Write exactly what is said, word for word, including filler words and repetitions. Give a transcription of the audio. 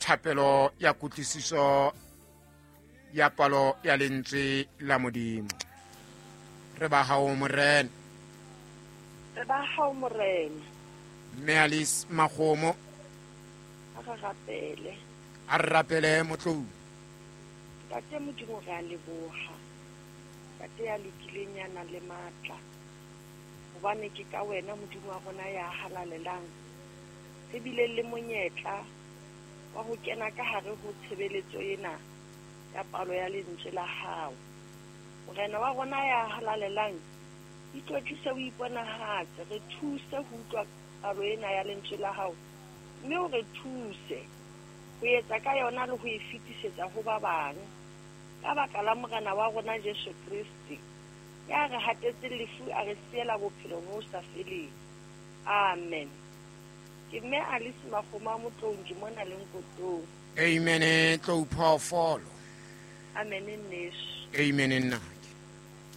Thapelo ya kutlwisiso ya palo ya lentswe la Modimo. Re ba hao Morena. Re ba hao Morena. Mme Alice Makgomo. A re rapele. A re rapele Motlou. Ntate Modimo re a leboha. Ntate ya lokileng ya nang le matla. Hobane ke ka wena Modimo wa rona ya halalelang. Re bile le monyetla wa ho kena ka hare ho tshebeletso ena ya palo ya lentswe la hao. Morena wa rona ya halalelang, itlotlise o iponahatse, re thuse ho utlwa palo ena ya lentswe la hao, mme o re thuse ho etsa ka yona le ho e fetisetsa ho ba bang. Ka baka la Morena wa rona Jesu Kriste, ya re hatetse lefu a re siela bophelo bo sa feleng. Amen. Ke mme Alice Makgomo Motlou ke mona le Nkotong. Amen. Tlou phoofolo. Amen nneso. Amen nnake.